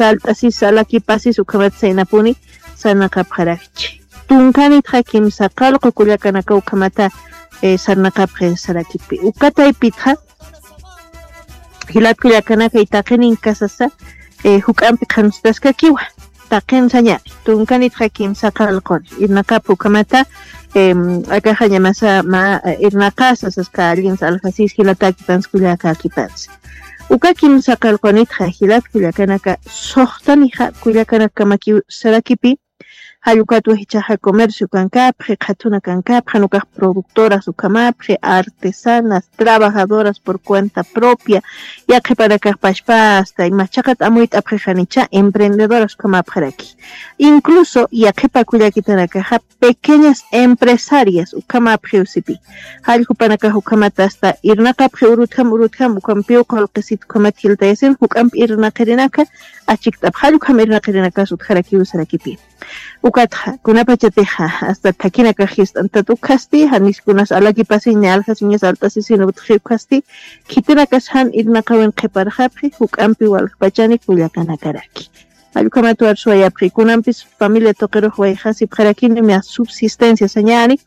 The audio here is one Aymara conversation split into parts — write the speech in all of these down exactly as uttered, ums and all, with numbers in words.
alt'asis alakipasis ukhamat saynapuni sarnaqapxarakchi. Tunkanitxa kimsa qallqu kullakanaka ukhamata sarnaqapxi sarakipi. Uka taypitxa jilat kullakanaka itaqinin kasasa juk'ampi qhanstaskakiwa. Taqin sañani tunkanitxa kimsa qallquni irnaqapxi ukhamata akaxañamasa mä irnaqasa saska allinsa aljasis jilatäkipansa kullakakipansa. Uka kimsa qallqunitxa jilat kullakanaka suxtanixa kullakanakamakiw sarakipi. Jallukatwa jichhaxa comercio kankapxi qhathuna kankapxi nukax productoras ukhamapxi artesanas trabajadoras por cuenta propia. Yaqhipanakaxpachpa asta imachaqat amuyt'apxixanicha emprendedoras ukhamapxaraki. Incluso yaqhipa kullakitanakaxa pequeñas empresarias ukhamapxiw sipi. Jallkupanakax ukhamata asta irnaqapxi urutjam urutjam ukhampiw qulqisit ukhamat jiltayasin juk'ampi irnaqirinaka achikt'apxi jallkukham irnaqirinakas utjarakiw sarakipi. Ukatxa kunapachatixa asta thakinakax jist'antat ukhasti janis kunas alakipasiñ ni aljasiñas alt'asisin utji ukhasti khitinakas jan irnaqawin qhiparxapxi juk'ampi waljpachani kullakanakaraki. Jallukhamat warsuwayapxi kunampis familia tuqirux wayjasipxarakini mä subsistencia sañani.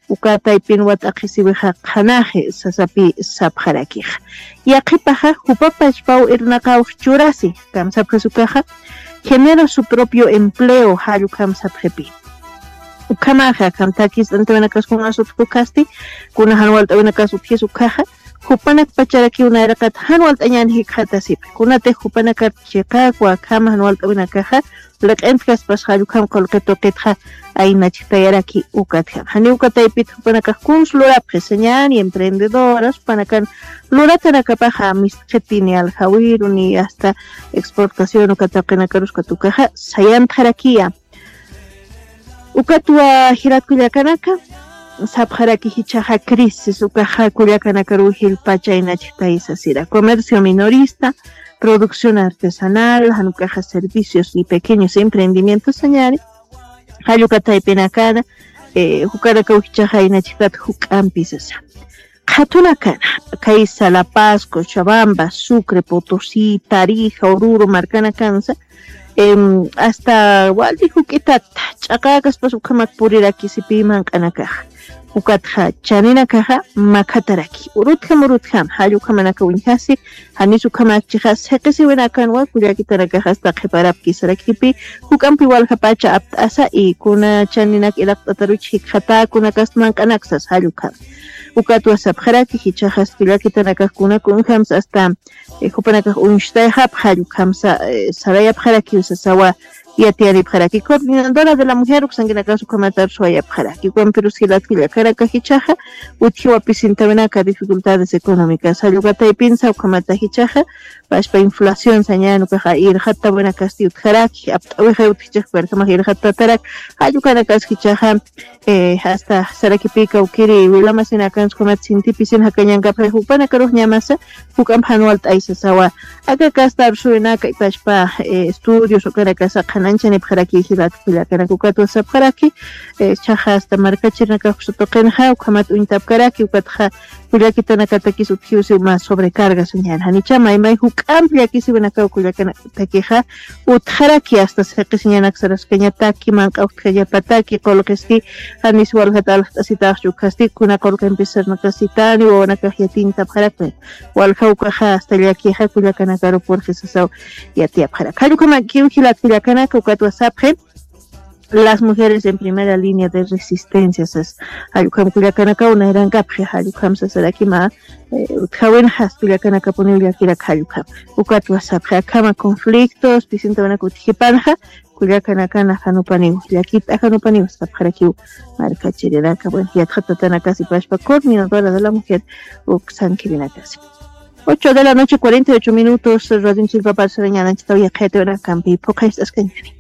Uka taypin wat'aqhisiwixa qhanaxi sasapi sapxarakixa. Yaqhipaxa jupapachpaw irnaqawx churasi kamsapxis ukaxa genera su propio empleo jallukhamsapxipi. Ukhamaxa akham thakist'antawinakas kunas utjukasti kuna jan walt'awinakas utjis ukhaxa jupanakpacharakiw nayraqat jan walt'añän jikxatasipxi kunatix jupanakar chiqakwa akham jan walt'awinakaxa liq'intjaspas jallukam qulqi tuqitxa aynachktayaraki. Ukatjam janiw kataypit jupanakax kuns lurapxi sañäni emprendedoras jupanakan luratanakapaxa mistxiti ni aljawiru ni asta exportación uka taqinakarus katukaxa sayantxarakiya. Ukatwa jilat kullakanaka sapxaraki jichhaxa crisis ukaxa kullakanakaruw jilpacha inachktaysasira comercio minorista producción artesanal jan ukaxa servicios y pequeños emprendimientos sañani. Jallukataypinakana jukanakaw jichhaxa inachktat juk'ampi sasa. Qhatunakana kaysa la paz cochabamba sucre potosí tarija ururu markanakansa asta wali juk'itat ch'aqäkaspas ukhamak puriraki sipiy manq'anakaxa. Ukatxa chaninakaxa makhataraki urutjam urutjam jalla ukhamanaka uñjasi. Janis ukhamakchixa siqisiwinakanwa kullakitanakaxa asta qhiparapki sarakipi juk'ampi waljapacha apt'asa y kuna chaninak iraqt'ataruch jikxatäkunakasta manq'anaksas jalla ukham. Ukatwa sapxaraki jichhaxas kullakitanakax kuna kunjamsa asta jupanakax uñstayxapxa jallukhamsa sarayapxarakiw sasawa. Yatiyanipxaraki coordinadora de la mujer uksankinakas ukhamatar suwayapxaraki ukampirus jilat kullakanaka jichhaxa utjiwa pisintawinaka dificultades económicas jallukataypinsa ukhamata jichhaxa pachpa inflación sañäni ukaxa irxattawinakasti utjaraki apt'awixay utjichixpirjamax irxattatarak. Jallukanakas jichhaxa asta sarakipï kawkiri wilamasinakansa ukhamat sintipisin jakañankapxi jupanakarux ñamasa juk'amp jan walt'aysasawa. Aka kasta arsuwinaka ipachpa estudios ukanakasa qhananchanipxaraki jilat kullakanaka ukatwa sapxaraki. Chhaxa asta markachirinakax uksa tuqinxa ukhamat uñtapkaraki ukatxa kullakitanakatakis utjiwsiw mä sobrecarga sañäni janicha maymay juk'amp llakisiwinakaw kullakanakatakixa utjaraki asta siqisiñanak saraskañataki manq'a utjañapataki qulqiski janis waljat aljt'asitaxchu ukhasti kuna qulqimpis sarnaqasitani wawanakax yatiñtapxarakmi. Walja ukaxa asta llakixa kullakanakaru purxisasaw yatiyapxarak jalla ukhamakiw jilat kullakanaka ukatwa sapxi. Las mujeres en primera línea de resistencia sas jalla ukham kullakanakaw nayrankapxi jalla ukham sasaraki mä utjawinxa asta kullakanakapuniw llakirak jalla ukham. Ukatwa sapxi akhama conflictos pisintawinak utjipanxa kullakanakana janupaniw llakit ajanupaniw sapxarakiw. Markachirinaka buen yatxatatanakasi pachpa coordinadora de la mujer uksankirinakasi. Ocho de la noche cuarenta y ocho minutos radionchilpapar sarañananchitaw yaqhayatiwinakampi phuqhayst'askañani.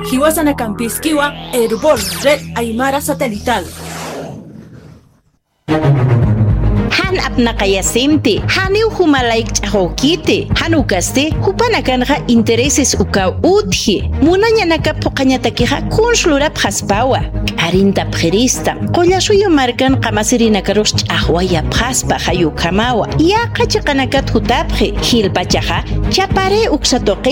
Jiwasanakampïskiwa Erbol red aymara satelital. Jan apnaqayasimti janiw juma layk ch'axwkiti jan ukasti jupanakanxa intereses ukaw utji. Munañanaka phuqhañatakixa kuns lurapxaspawa. K'arintapxiristam qullasuyu markan qamasirinakarux ch'axwayapxaspa jayukhamawa yaqha chiqanakat jutapxi jilpachaxa chapari uksa tuqi.